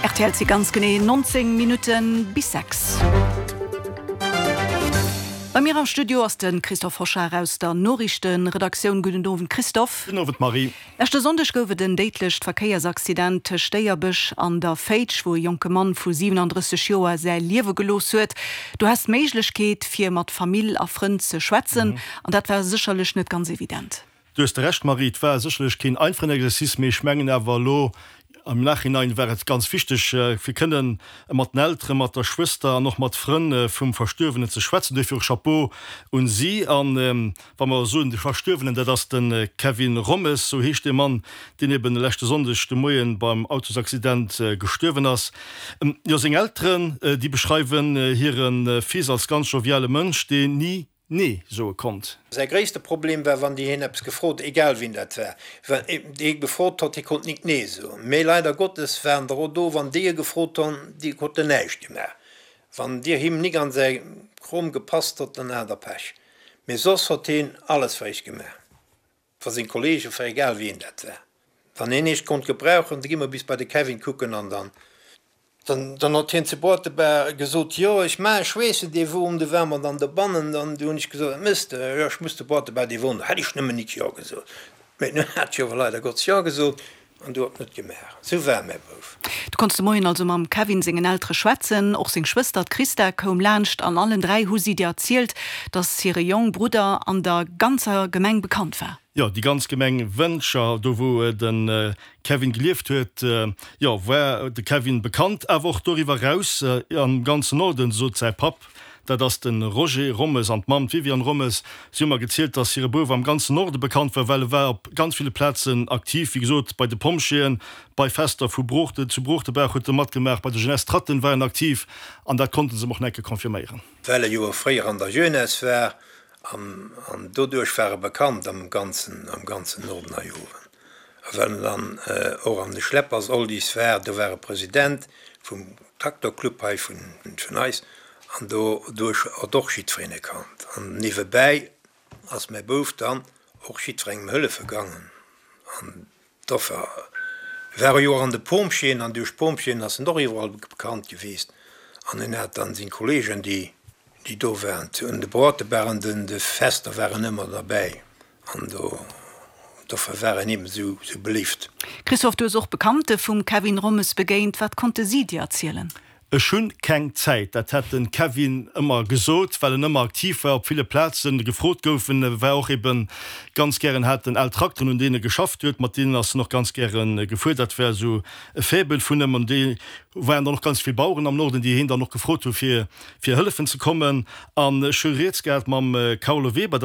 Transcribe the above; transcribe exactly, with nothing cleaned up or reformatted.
R T L, et si ganz genee neunzéng Minutten bis sechs. Bei mir am Studio ass de Christophe Hochard aus der Noriichtenredaktioun. Gudden Owend, Christophe. Gudden Owend, Marie. Leschte Sonndeg gouf et en déidlecht Verkéiersaccident tëscht Déierbech an der Féitsch, wou e jonke Mann vu siwenandrësseg Joer säi Liewe gelooss huet. Du has d'Méiglechkeet, fir mat Famill a Frënn ze schwätzen, an dat war sécherlech net ganz evident. Du hues de Recht, Marie, et war sécherlech keen einfachen Exercice, mee ech mengen awer elo am Nachhinein war et ganz wichteg, fir kënnen mat den Elteren, mat der Schwëster an och mat Frënn vum Verstuerwenen ze schwätzen. Duerfir och Chapeau un si. An wa mer soen de Verstuerwenen, dat ass de Kevin Rommes, sou heescht dee Mann, deen eben leschte Sonndeg de Moien beim Autosaccident gestuerwen ass. Jo, seng Elteren, déi beschreiwen hire Fils als ganz joviale Mënsch, deen ni Nee soe konnt. Säi gréisste Problem war, wann déi hien eppes gefrot, egal wien dat war, wann dee gefrot hott, hie konnt nik Nee soen. Mee leider Gottes waren der och do, wann déi e gefrot honn, déi huet en näischt gemaach. Wann dir him nik an säi Krom gepasst hott, dann hat der Pech. Mee soss hott hien alles fir iech gemaach, fir seng Kollegen, fir egal wien dat war. Wann een eescht konnt gebrauchen, da gi mer bis bei de Kevin kucken an dann. Dann hott hien zu Boartebar gesot, Jo, ech maachen, ech weess et, dee Won, du war mer dann dobannen. Dann du hunn ech gesot, Wat mëss de? Jo, ech muss zu Boartebar dee Won. Hätt ech nëmmen nik Jo gesot. Mee nun hat ech ower leider Gottes Jo gesot an du hott net gemaach. Sou war mäi Bouf. Du konnts de Moien also mam Kevin sengen Eltere schwätzen. Och seng Schwëster, d'Christa, koum laanscht an allen dräi hu si dir erzielt, dass hire Jong Brudder an der ganzer Gemeng bekannt war. Jo, déi ganz Gemeng Wëntger, do wou de Kevin gelieft huet, jo, war de Kevin bekannt, awer och doriwwer eraus am ganzen Norden, sot säi Papp, dat ass de Roger Rommes, an d'Mamm, d'Viviane Rommes. Si hu mer gezielt, dass hire Bouf am ganzen Norde bekannt war, well e war op ganz ville Plazen aktiv, wéi gesot, bei de Pompjeeën, bei Fester vu Broochten, zu Broochtenbaach huet e matgemaach, bei der Jeunesse Tratten war en aktiv, an dat konnte se em och nach eng Kéier confirméieren. Well e jo och fréier an der Jeunesse war, An doduerch war e bekannt am ganzen, am ganzen Norden hei owen. A well en dann och an de Schleppers Oldies war, do war e President vum Traktorclub hei vun, vun eis, an doduerch hott och jiddwereen e kannt. An niewebäi ass mäi Bouf dann och jiddwerengem hëllefe gangen. An dofir war e jo och an de Pompjeeën, an duerch d'Pompjeeën ass en och iwwerall bekannt gewiesst. An en hat dann seng Kollegen, déi. Déi do waren un de Brotebar an den de Fester waren ëmmer derbäi an do dofir war en eben esou esou beléift. Christophe, du hues och Bekannte vum Kevin Rommes begéint. Wat konnte si dir erzielen? Ech hunn keng Zäit, dat hätt de Kevin ëmmer gesot, well en ëmmer aktiv war, op ville Plazen gefrot gouf. En war och eben ganz gären, hat en al Trakteren, un deene geschafft huet, mat deenen ass en och ganz gäre gefuer. Dat war esou e Faible vun em. An déi waren dann och ganz vill Baueren am Norden, déi hien dann och gefrot hu fir fir hëllefen ze kommen. An ech hu rieds gehat mam Carlo Weber, dat.